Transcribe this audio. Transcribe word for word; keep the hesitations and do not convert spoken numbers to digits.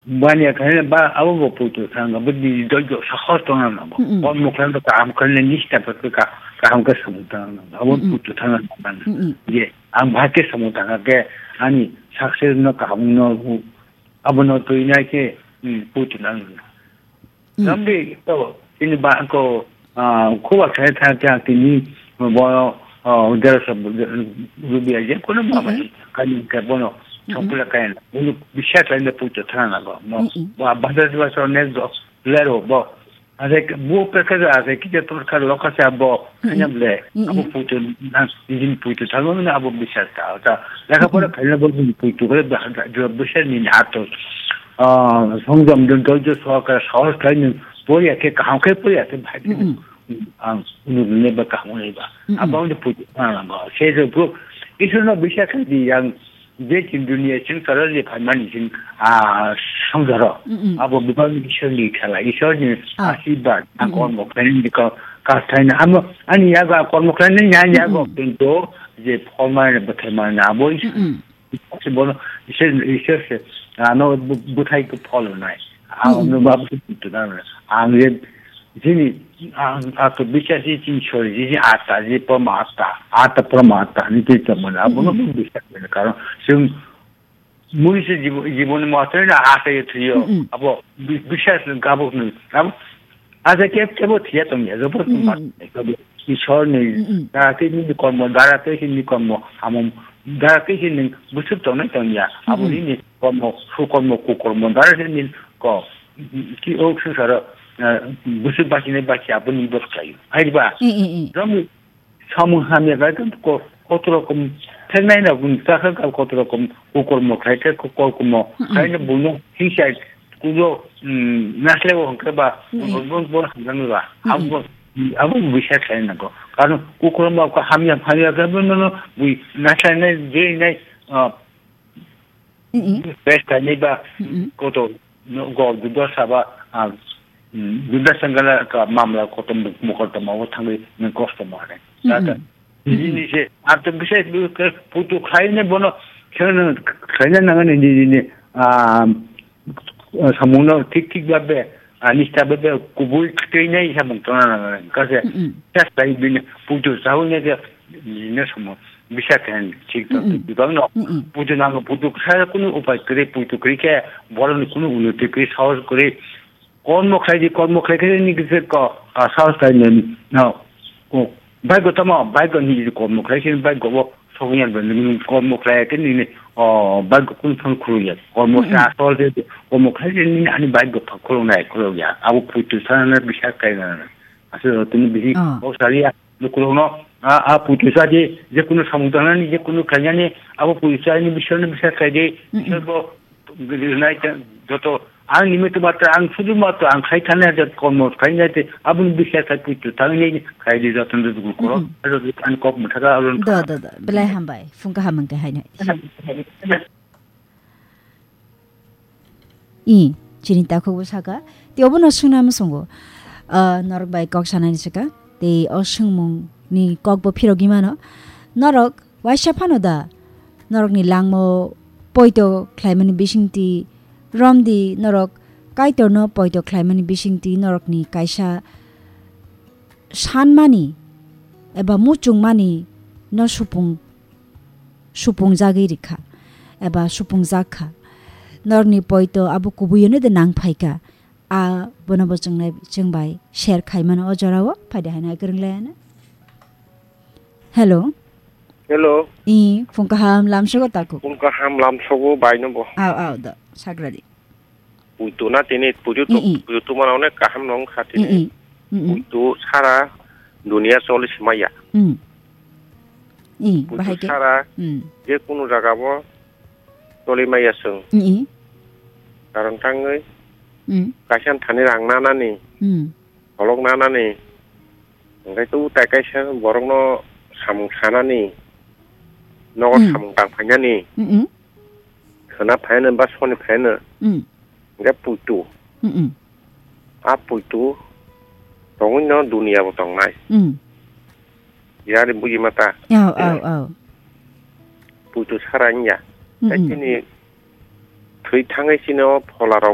Bani khaina ba abo bo puitu thang, abo di doi jo sahos tong na bo. Mm-mm. Kon mukhan to kaham khaina nista pa ka kaham ka samung tang na. Abo Mm-mm. puitu thang na. Mm-mm. Je, ang bhai ke samung tang ke ani success no kaham no abo no to ina ke, mm, puitu nang. Mm. Nambi to ini ba ko, ah, khuba khai tha kya tini bo, ah, dera sa rubi aje kono ba Mm-mm. kani ke bono Mm-mm. chokla kain. Ulu bisha kain puitu thang na bo. No. Mm-mm. Ba ba ba so ne do lero bo. Ase bo pekha ja ase kije torkha lokha se abo Mm-mm. kanyam le abo Mm-mm. puitu na jin puitu thalo na abo bisar ta ta lekha pora Mm-mm. khaina bo jin puitu kore ba jo bisar ni na to. Ah, songjam don to jo so ka sahos khai ni pori ake kaham khai pori ake bhai. Mm-mm. Ang unu ne ba kaham ne ba. Mm-mm. Abo ni puitu na ba se jo bro. Isu no bisar khai di yang je tin dunia sing sara le phan mani sing, ah, songjaro. Mm-mm. Abo bibang Ishwar ni khala, Ishwar ni Ah. asibad, a Mm-mm. kormo khlaini ka, ka thaina. Amo, ani yago a kormo khlaini, ani yago Mm-mm. kintu je pholmani, bwtharmani, abo Ishwar. Mm-mm. Ishwar se bono, Ishwar, Ishwar se, ano bu-, buthai ko phol nai. Ang Mm-mm. no ma bu tu na. Ang je Jini, ang, ang to bisasi chin chori, jini ata, ji pama ata, ata pama ata, ni twi tamo na, abo no Mm-mm. bisas mene, karon, sing, mui se jibo-, jibon ni matri na ata ye thuyo, Mm-mm. abo, bi-, bisas ni gabok ni, abo, ata ke, kebo thiya tong ya, jabo tong Mm-mm. mat, kebo, Ishwar ni, Mm-mm. dara te ni kormo, dara te ni kormo, amo, dara te ni busuk tong na tong ya, abo Mm-mm. ni ni kormo, su kormo, ku kormo, dara te ni ko, Ki o swngcharo, eh, bwswk bachini bachi aboni bwswk khlaio. Haiba, Mm, mm, mm. Romwi samung hamya khlai khe ko-, kotor rokom theknai no bini chakha kal kotor rokom kukurmo khlai khe ko-, kokurmo Mm, mm. khlai no buino hingsa kulo, mm, naslai o hwnkhe ba Mm, mm. bo, bo, bo hamjaknai ba. Mm, mm. Abo, abo bisa khlai nango. Karon kukurmo ko hamya, hamya khe bo no, no, bui naslainai, jeinai, ah, Mm, mm. Pes kainwi ba Mm, mm. koto no go Dudasa ba, ah, mm, Dudasa gana ka mamla koto muk-, mukotoma o thangwi nang kosto mare. Mm, Tata, mm. Nini se, ato bisai ke putu khaine bono, khaine, khaine nangani nini, ah, samungno thik thik babe, ani stabe be kubui twi nai samung tona nang kase. Mm, mm. Just like bini putu sawi ne ke, ne samung bisa khen thik to Mm, mm. Bibang no. Mm, mm. Putu nang putu sa kunu upai kre putu kre ke, boroni kunu unnoti kre, sahos kre. Kormo khlai di, kormo khlai khe ni kise ko, ah, sahos khlai ne, no. Ko, bai ko tamo, bai ko ni kormo khlai khe, bai ko bo, sokya ben, ni kormo khlai khe ni, ni, oh, bai ko kun thon khuru ya. Kormo Mm, mm. sa sol de, kormo khlai khe ni, ani bai ko pha khuru nai, khuru ya. Abo putu sa na bisa kai na. Aswk tini bisi Ah. kok saliya, lukurokno, a, a puitu sa di, je kunu samung tangnani, je kunu khlainani, abo puitu sa ni bisingni bisa khlai di, Mm-mm. bising bo rinai ta, joto ang nimi tu matra, ang sudu matra, ang khai thani hajar kormo khlainai te, aboni bisa khlai puitu tangnai khlai di joto ndu dukul koro, Mm-mm. aro ang kok muthaga aron. Da, da, da, belai hambai, phung kaham hwnkhe haino. I, chini takhuk bo saka, tei obono swngna muchungo, ah, norok bai kok sanani swka, tei o swngmung ni kok bo phirogwi mano. Norok waisa phano da norokni langmao poito khlaimani bisingtwi romdi, norok Kaitorno poito khlaimani bisingtwi norokni kaisa sanmani eba muchungmani no supung, supungjagwi rikha eba supungjak kha. Norokni poito abo kubuino de nang phaikha. A bono bo chwngnai, chwng bai share khaimano o jorao, phaidi haino hai kwrwng laiano. Hello. Hello. I, phung kaham lamsogo taku. Phung kaham lamsogo baino bo. Aw, aw, do, sagradi. Puitu na tini puitu tu, Mm, mm. Puitu tu mana onek kaham nong kha tini. Mm, mm. Mm, mm. Puitu sara dunia choli simaya. Mm. Mm, puitu bahai ke? Sara Mm. Je kunu jaga bo choli maya sung. Mm, mm. Karon tangwi Mm. Kaisa thani rang nanani. Mm. Kolok nanani, hwnkhe tu tai kaisa borokno samung sanani, nogo Mm. Samung tang phainani, Mm-mm. Khwna phainani ba soni phainani, Mm. Hwnkhe puitu. Mm-mm. A puitu tongwino duniya bo tongnai. Mm. Yari buji mata. Aw, aw, aw. Puitu sara wngya. Mm-mm. Tei chini thwi thangwi chini o phola rok